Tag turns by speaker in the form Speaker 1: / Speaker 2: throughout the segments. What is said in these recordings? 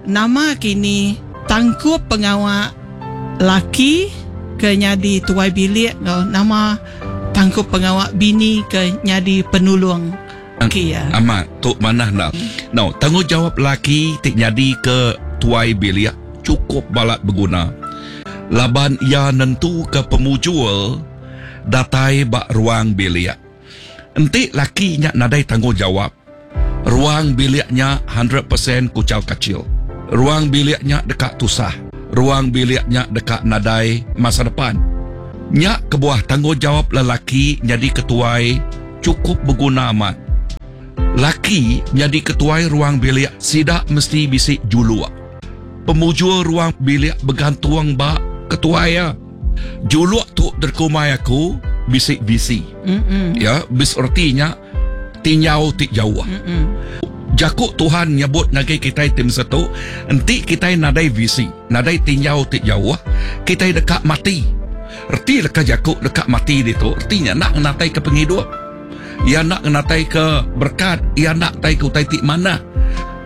Speaker 1: Nama kini tangkup pengawa laki ke nyadi tuai bilik enggau nama tangkup pengawa bini ke nyadi penulung laki iya?
Speaker 2: Amat, tu manah enda. Now, tanggungjawap laki ti nyadi ke tuai bilik chukup balat beguna laban iya nentuka pemujur datai ba ruang bilik. Enti laki nya nadai tanggungjawap, ruang bilik nya hundred percent kuchau kachil. Ruang bilik nya deka tusah. Ruang bilik nya deka nadai masa depan. Nya kebuah tanggungjawap lelaki nyadi ketuai chukup beguna amat. Laki nyadi ketuai ruang bilik sida mesti bisi juluk. Pemujur ruang bilik begantung ba ketuai iya. Juluk tu dikumbai aku bisi visi. Ya, bis reti nya tinjau ti jauh. Jaku Tuhan nyebut ngagai kitai ti mesetu, enti kitai nadai visi, nadai tinjau ti jauh, kitai deka mati. Reti leka jaku deka mati ditu, reti nya enda ngenataika pengidup. Iya enda ngenataika berekat, iya enda ngenataika utai ti manah.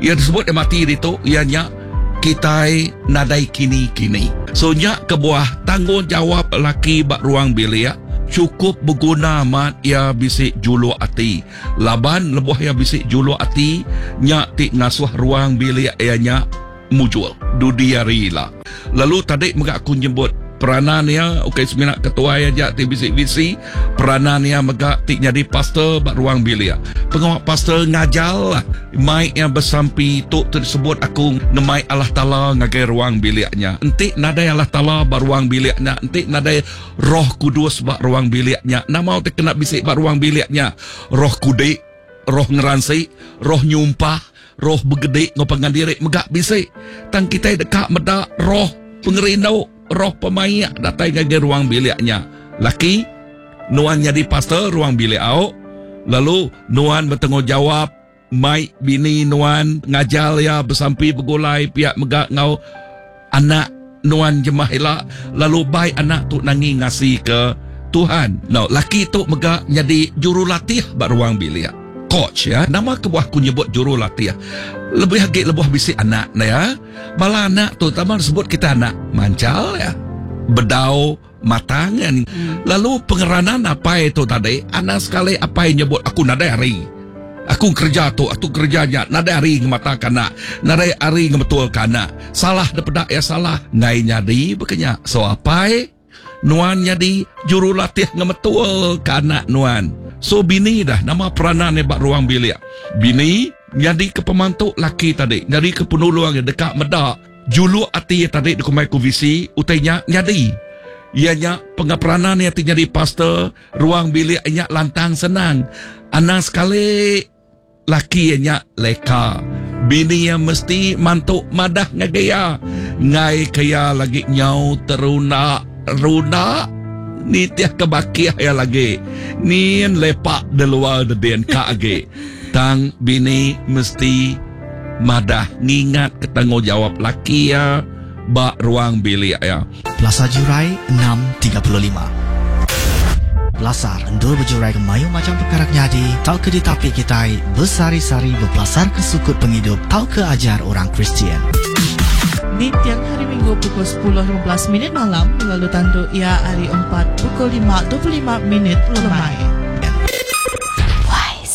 Speaker 2: Iya disebut iya mati ditu, iya nya kitai nadai kini-kini. So nya kebuah tanggungjawap laki ba ruang bilik chukup beguna amat iya bisi juluk ati. Laban lebuh iya bisi juluk ati, nya ti ngasuh ruang bilik iya nya mujur dudi hari ila. Lalu tadi mega aku nyebut peranan iya ukai semina ketuai aja ti bisi visi, peranan iya mega ti nyadi pastor ba ruang bilik. Pengawa pastor ngajar lah mai iya besampi tu ti disebut aku ngemai Allah Taala ngagai ruang bilik nya. Enti nadai Allah Taala ba ruang bilik nya, enti nadai Roh Kudus ba ruang bilik nya, nama ti kena bisi ba ruang bilik nya? Roh kudik, roh ngeransi, roh nyumpah, roh begedi enggau pangan diri mega bisi. Tang kitai deka meda roh pengerindu, roh pemaik datai ngagai ruang bilik nya. Laki, nuan nyadi pastor ruang bilik au, lalu nuan betanggungjawap mai bini nuan ngajar iya besampi begulai pia mega enggau anak nuan jemah ila lalu bai anak tu nangi ngasika Tuhan. Now, laki tu mega nyadi jurulatih ba ruang bilik. Coach ya. Nama kebuah aku nyebut jurulatih? Lebih agi lebuh bisi anak ne ya. Bala anak tu tama disebut kita anak manchal ya. Bedau matang kan. Lalu pengeranan apai tu tadi, anang sekali apai nyebut aku nadai hari. Aku kereja tu, aku kereja nya, nadai hari ngemataka anak, nadai hari ngemetulka anak. Salah depeda iya salah, enggai nyadi baka nya. So apai, nuan nyadi jurulatih ngemetulka anak nuan. So bini dah nama peranan iya ba ruang bilik. Bini nyadika pemantu laki tadi, nyadika penulung iya deka meda Juluk ati iya tadi dikumbai ku visi utai nya nyadi. Iya nya pengeperanan iya ti nyadi pastor ruang bilik iya nya lantang senang. Anang sekali laki iya nya leka. Bini iya mesti mantu madah ngagai iya enggai ke iya lagi nyau terunda runda nitih ke bakih iya lagi nyin lepak di luar dedin ka agi. Tang bini mesti madah ngingatka tanggungjawap laki iya ba ruang bilik iya.
Speaker 3: Pelasar Jurai 6:35. Pelasar endur bejuraika mayuh macham pekara ke nyadi tauka ditapi kitai besehari-sehari bepelasarka sukut pengidup tauka ajar orang Kristian.
Speaker 4: Ninting Hari Minggu pukul 10:15 minit malam lalu tandu iya hari Empat pukul 5:25 minit lemai.